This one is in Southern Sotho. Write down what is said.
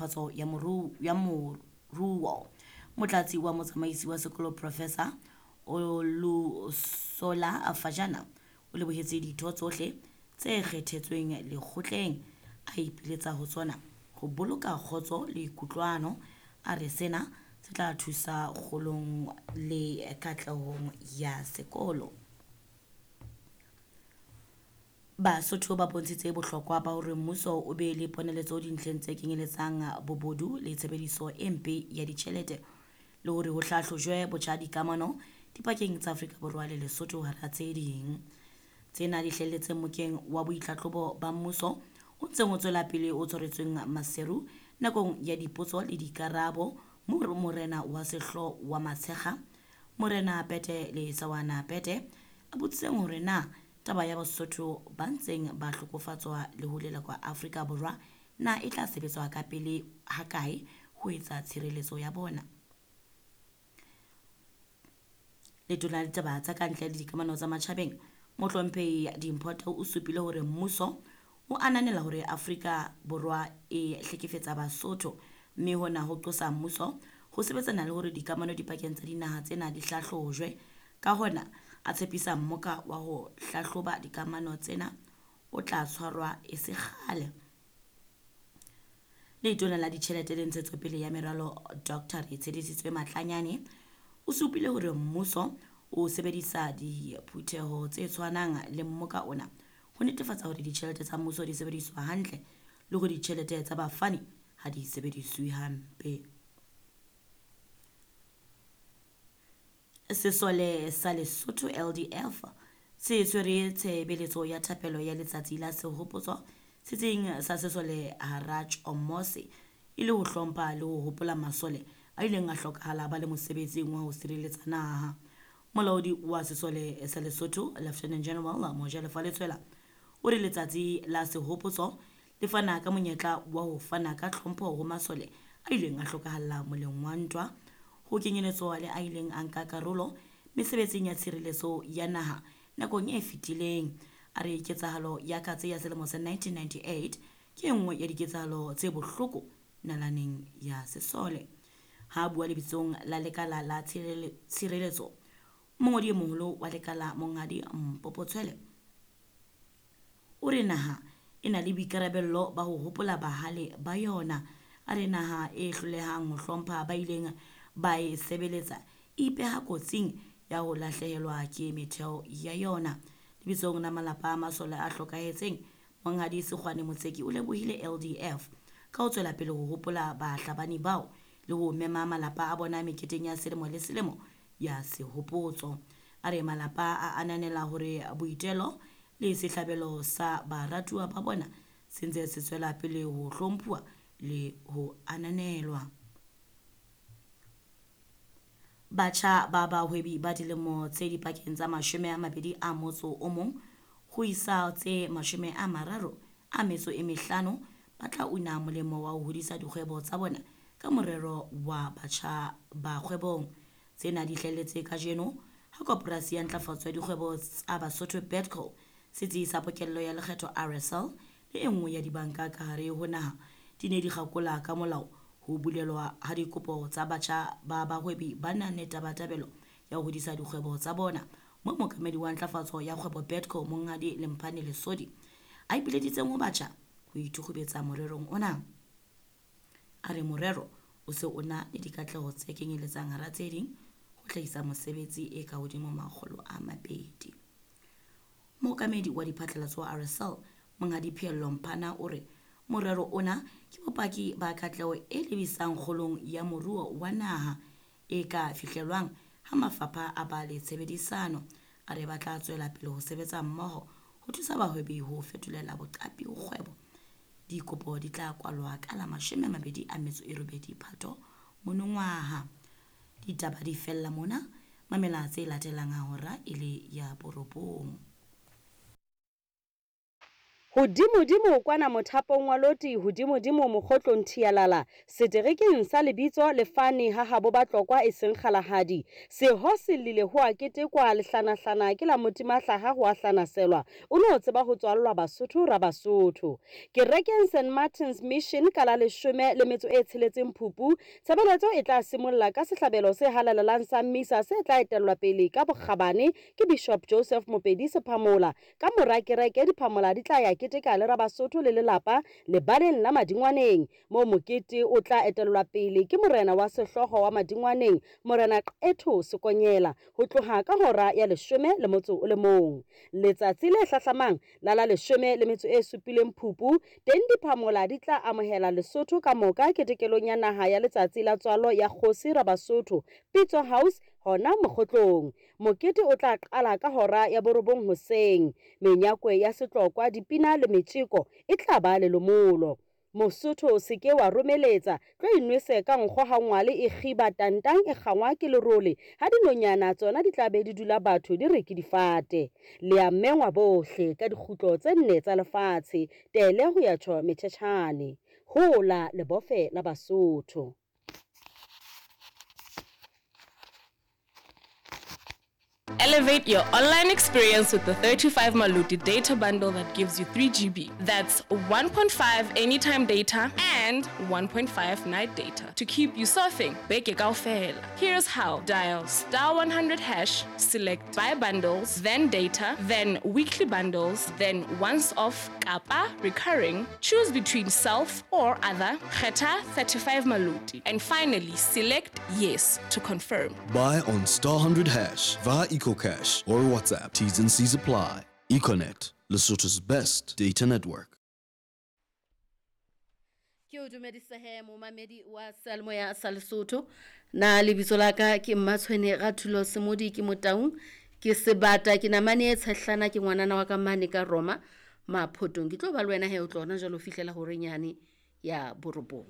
ntlafatso ya moruo. Motlatsi wa motsamaisi wa sekolo Professor Olusola Fajana o lebohetse ditho tsohle tse kgethetsweng lekgotleng, a ipiletsa ho tsona ho boloka kgotso le kutlwano. A re sena se tla thusa kgolong le katlehong ya sekolo. Basotho ba bontshitse bohlokwa ba hore mmuso o be le poneletso dintlheng tse kenyeletsang bobodu le tshebediso e mpe ya ditjhelete, le hore ho hlahlojwe botjha dikamano dipakeng tsa Afrika Borwa le Lesotho hara tse ding. Tsena di hlahelletse mokeng wa boitlhahlobo ba mmuso o ntseng o tswela pele o tshwaretsweng Maseru nakong ya dipotso le dikarabo moo morena wa sehlooho wa Matshekga, Morena Pete le Sawana Pete, a botsitseng hore na taba ya Basotho ba ntseng ba hlokofatswa le ho lelekwa Afrika Borwa na e tla sebetswa ka pele hakae ho etsa tshireletso ya bona. Letona la ditaba tsa kantle le dikamano tsa matjhabeng, Mohlomphehi Dimpho Tau, o supile hore mmuso o ananela hore Afrika Borwa e hlekefetsa Basotho, mme hona ho qosa mmuso ho sebetsana le hore dikamano dipakeng tsa dinaha tsena di hlahlojwe. Ka hona a tshepisa mmoka wa ho hlahloba dikamano tsena o tla tshwarwa e se kgale. Letona la ditjhelete le ntshetsopele ya meralo Dr. Retshedisitswe Matlanyane o supile hore mmuso o sebedisa diphutheho tse tshwanang le mmoka ona ho netefatsa hore ditjhelete tsa mmuso di sebediswa hantle le hore ditjhelete tsa bafani ha di sebediswe hampe. Sesole sa Lesotho LDF se tshwere tshebeletso ya thapelo ya letsatsi la sehopotso setsing sa sesole hara Tjomose e le ho hlompha le ho hopola masole a ileng a hlokahala ba le mosebetsing wa ho sireletsa naha. Molaodi wa sesole sa Lesotho Lieutenant General Mojalefa Letshwela o re letsatsi la sehopotso le fana ka monyetla wa ho fana ka tlhompho ho masole a ileng a hlokahalla moleng wa ntwa, ho kenyeletswa le a ileng a nka karolo mesebetsing ya tshireletso ya naha nakong e fetileng. A re ketsahalo ya katse ya selemo sa 1998 ke e nngwe ya diketsahalo tse bohloko nalaneng ya sesole. Ha a bua lebitsong la lekala la tshireletso, mongodi e moholo wa lekala Monghadi Mpopo Tshwele o re naha e na le boikarabello ba ho hopola bahale ba yona. A re naha e hlolehang ho hlompha ba ileng ba e sebeletsa e ipeha kotsing ya ho lahlehelwa ke metheo ya yona. Lebitsong la malapa a masole a hlokahetseng, Monghadi Sekgwane Motseki o lebohile LDF ka ho tswela pele ho hopola bahlabani bao le ho mema malapa a bona meketeng ya selemo le selemo ya sehopotso. A re malapa a ananela hore boitelo le sehlabelo sa baratuwa ba bona se ntse se tswela pele ho hlomphuwa le ho ananelwa. Batjha ba bahwebi ba dilemo tse dipakeng tsa 21 ho isa tse 35 ba tla una molemo wa ho hodisa dikgwebo tsa bona ka morero wa batjha ba kgwebong. Tsena di hlahelletse kajeno ha Koporasi ya Ntlafatso ya Dikgwebo tsa Basotho Bedco, setsi sa pokello ya lekgetho RSL le e nngwe ya dibanka ka hare ho naha di ne di kgakola ka molao ho bulelwa ha dikopo tsa batjha ba bahwebi ba nang le tabatabelo ya ho hodisa dikgwebo tsa bona, moo mookamedi wa ntlafatso ya kgwebo Bedco Monghadi Lemphane Lesodi a ipileditseng ho batjha ho ithukgubetsa morerong ona. A re morero o se o na le dikatleho tse kenyeletsang hara tse ding ho hlahisa mosebetsi e ka hodimo 200. Mookamedi wa diphatlalatso wa RSL Monghadi Pheello Mphana o re morero ona ke bopaki ba katleho e lebisang kgolong ya moruo wa naha e ka fihlelwang ha mafapha a ba le tshebedisano. A re ba tla tswela pele ho sebetsa mmoho ho thusa bahwebi ho fetolela boqapi ho kgwebo. Dikopo di tla kwalwa ka la 28 Phato monongwaha. Ditaba di fella mona, mamela tse latelang ha hora e le ya 9. Hodimodimo kwana mothapong wa loti, hodimodimo mokgotlong thialala, seterekeng sa lebitso le fane ha habo Batlokwa e seng Kgalagadi. Seho se llile ho a ketekwa, lehlanahlana ke la motimahlaha ho a hlanaselwa, o no tseba ho tswallwa Basotho Rabasotho. Kerekeng St Martin's Mission ka la leshome le metso e tsheletseng Phupu, tshebeletso e tla simolla ka sehlabelo se halalelang sa Misa se tla etellwa pele ka bokgabane ke Bishop Joseph Mopedi Sephamola. Ka mora kereke, diphamola di tla ya keteka le Rabasotho le lelapa lebaleng la Madingwaneng, moo mokete o tla etellwa pele ke morena wa sehlooho wa Madingwaneng, Morena Qetho Sekonyela, ho tloha ka hora ya leshome le motso o le mong. Letsatsi le hlahlamang la la leshome le metso e supileng Phupu, teng diphamola di tla amohela Lesotho ka moka ketekelong ya naha ya letsatsi la tswalo ya kgosi Rabasotho, Pitso House, hona Mokgotlong. Mokete o tla qala ka hora ya borobong hoseng. Menyakwe ya setlokwa, dipina le metjeko e tla ba lelomolo. Mosotho o se ke wa romeletsa, tlo inwese ka nkgo ha ngwale e kgiba tantang e kgangwa ke lerole, ha dinonyana tsona di tla be di dula batho di re ke difate. Le a mengwa bohle ka dikgutlo tse nne tsa lefatshe, tele ho ya tjho metjhetjhane. Hola lebofe la Basotho. Elevate your online experience with the 35 Maluti data bundle that gives you 3 GB. That's 1.5 anytime data and 1.5 night data to keep you surfing. Beke kaofela. Here's how. Dial star 100 hash, select buy bundles, then data, then weekly bundles, then once off kappa recurring. Choose between self or other. Kgetha 35 Maluti. And finally, select yes to confirm. Buy on star 100 hash via EcoCash or WhatsApp. T's and C's apply. Econet, Lesotho's best data network. Ke o dumedise he momamedi wa seyalemoya sa Lesotho. Na lebitso la ka ke Mmatshwene Rathulo Semodi ke Motaung ke sebata ke namane e tshehlana ke ngwanana wa ka mane ka Roma Maphotong. Ke tlo ba le wena he o tlo hona jwale ho fihlela horeng yane ya borobong.